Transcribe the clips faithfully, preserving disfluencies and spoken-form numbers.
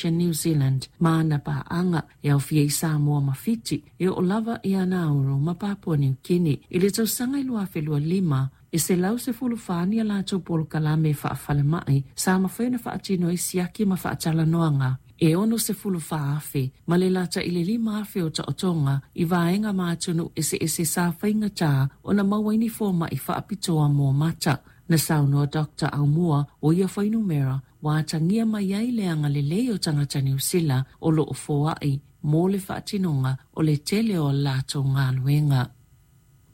Association New Zealand ma ana paaga e aofia i Samoa ma Fiti e oo lava ia Nauru ma Papua Niu Kini. I le tausaga i lua afe lua lima, e selau sefulu fa ni a latou polokalame faafalemai sa mafai ona faatino ai siaki ma faatalanoaga e ono sefulu fa afe ma le lata i le lima afe o taotoga i vaega ma atunuu eseese sa faigatā ona maua ai ni foma'i faapitoa mo mata. Na saunoa Doctor Aumua o ia fuainumera ua atagia mai ai le agalelei o tagata Niu Sila o loo foa'i mo le faatinoga o le tele o a latou galuega.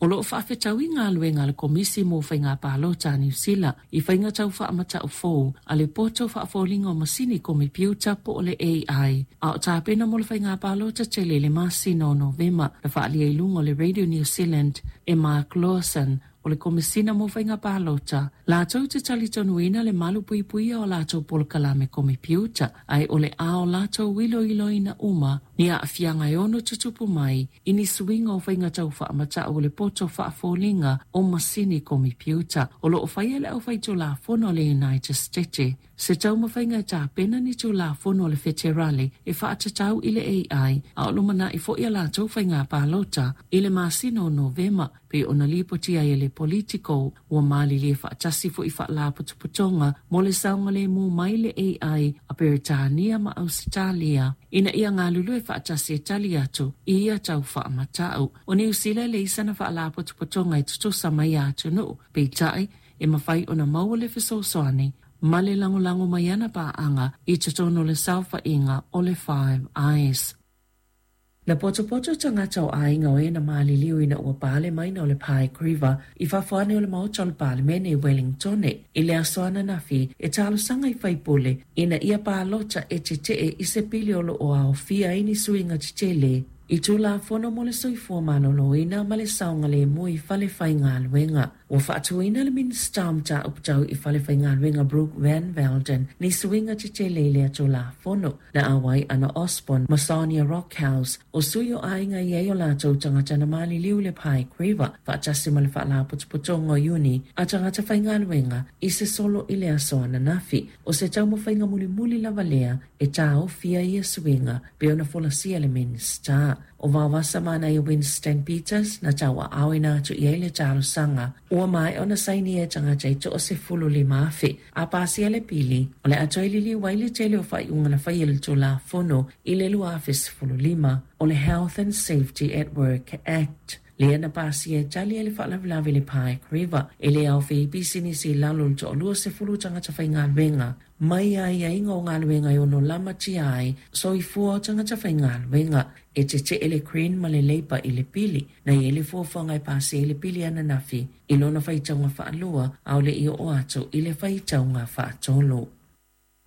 O loo faafetaui galuega a le Komisi mo Faiga Palota a Niu Sila i faiga tau faamata'u fou a le poto faafoliga o masini komepiuta po o le A I, a o tapena mo le faiga palota tele i le masina o Novema. Na faaalia i luga o le Radio New Zealand e Mark Lawson o le Komesina mo Faiga Palota, latou te talitonuina le malu puipuia o latou polokalame komepiuta, ae o le a o latou iloiloina uma ni aafiaga e ono tutupu mai i ni suiga o faiga tau faamata'u o le poto faafoliga o masini komepiuta. O loo faia le aufaitulafono a le United States se taumafaiga e tapena ni tulafono a le feterale e faatatau i le A I, a o lumana'i fo'i a latou faiga palota i le masina o Novema, pe ona lipotia ai e le Politico. Ua malilie faatasi fo'i faalapotopotoga mo le saogalemu mai le A I a Peretania ma Ausetalia ina ia galulue faatasi e tali atu i ia tau faamata'u. O Niu Sila e leai sana faalapotopotoga e tutusa mai ia atunuu, peita'i e mafai ona maua le fesoasoani ma le lagolago mai ana paaga i totonu o le saofaiga o le Five Eyes. Na potopoto tagata o aiga o e na maliliu ina ua pale maina o le Pike River i fafo ane o le maota o le Palemene i Wellingtone i le aso ananafi e talosaga i faipule ina ia palota e tetee i se pili o loo aofia ai ni suiga tetele i tulafono mo le soifua maloloina ma le saogalemu i fale faigaluega. Ua faatuina le Minista o Mataupu Tau i fale faigaluega Brooke Van Velden ni suiga tetele i lea tulafono. Na auai Anna Osborne ma Sonia Rockhouse o sui o aiga i ai o latou tagata na maliliu le Pike River faatasi ma le faalapotopotoga o Iuni a tagata faigaluega i se solo i le aso ananafi. O se taumafaiga mulimuli lava lea e taofia ia suiga pe ona folasia le Minista. O Vaovasa Manaia Winston Peters na tauaaoina atu i ai le talosaga ua maea ona saini e tagata e toasefulu lima afe a pasia le pili o le a toe liliu ai le tele o faaiuga na faia le tulafono i le lua afe sefulu lima o le Health and Safety at Work Act. Lea na pasia e tali ai le faalavelave le Pike River e le aofia i pisinisi i lalo o le toalua sefulu tagata faigaluega mai aiaiga o galuega e ono lamatia ai soifua o tagata faigaluega. E tetee le Green ma le Labour i le pili na i ai le fuafuaga e pasia ai le pili ananafi i lona faitauga faalua a o le i oo atu i le faitauga faatolu.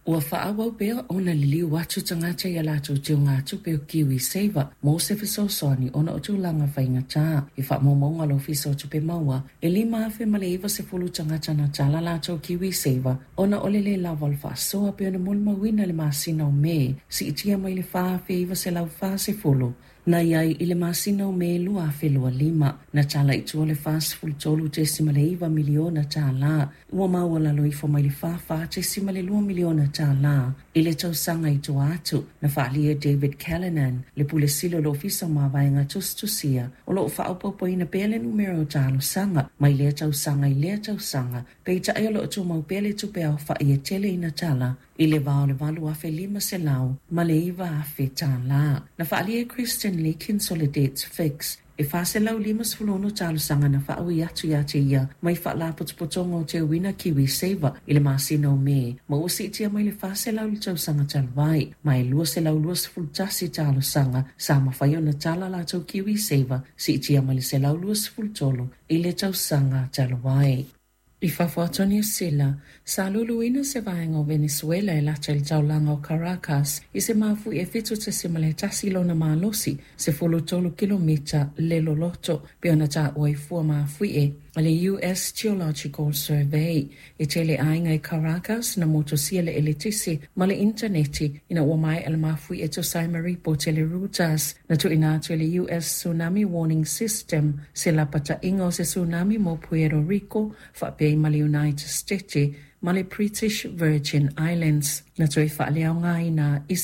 Ua faaauau pea ona liliu atu tagata ia latou teugatupe o Kiwi Saver mo se fesoasoani ona o tulaga faigatā. I faamaumauga a le Ofisa o Tupe Maua e lima afe ma le iva sefulu tagata na tala latou Kiwi Saver ona o le lē lava o le faasoa pe ona molimauina le masina o Me siitia mai le fa afe iva selau fa sefulu na iai i le masina o Me lua afe lua lima. Na tala i tua le fa sefulu tolu tesima le iva miliona tālā ua maualalo ifo mai le fa fa tesima le lua miliona tālā i le tausaga i tua atu. Na faalia David Callanan le pule sili o le Ofisa o Mavaega Tusitusia o loo faaopoopoina pea le numera o talosaga mai lea tausaga i lea tausaga, peitai o loo tumau pea le tupe aofa'i e tele ina tala i le va o le valu afe lima selau ma le iva afe tālā. Na faalia e Kristen Leakins o le Debts Fix e fa selau lima sefulu ono talosaga na faaui atu ia te ia mai faalapotopotoga o teuina Kiwi Saver i le masina o Me ma ua siitia mai le fa selau le tausaga talu ai ma e lua selau lua sefulu tasi talosaga sa mafai ona tala latou Kiwi Saver siitia mai le selau lua sefulu tolu i le tausaga talu ai. I fafo atu o Niu Sila, sa luluina se vaega o Venezuela e lata i le taulaga o Caracas i se mafui e fitu tesima le tasi lona malosi sefulu tolu kilomita le loloto pe ona taua i fua mafuie a le U S Geological Survey. E tele aiga i Caracas na motosia le eletisi ma le interneti ina ua maea le mafui e tusa ai ma ripoti a le Reuters. Na tuuina atu e le U S Tsunami Warning System se lapataiga o se tsunami mo Puerto Rico faapea ma le United States ma le British Virgin Islands. Na toe faaleaogaina i se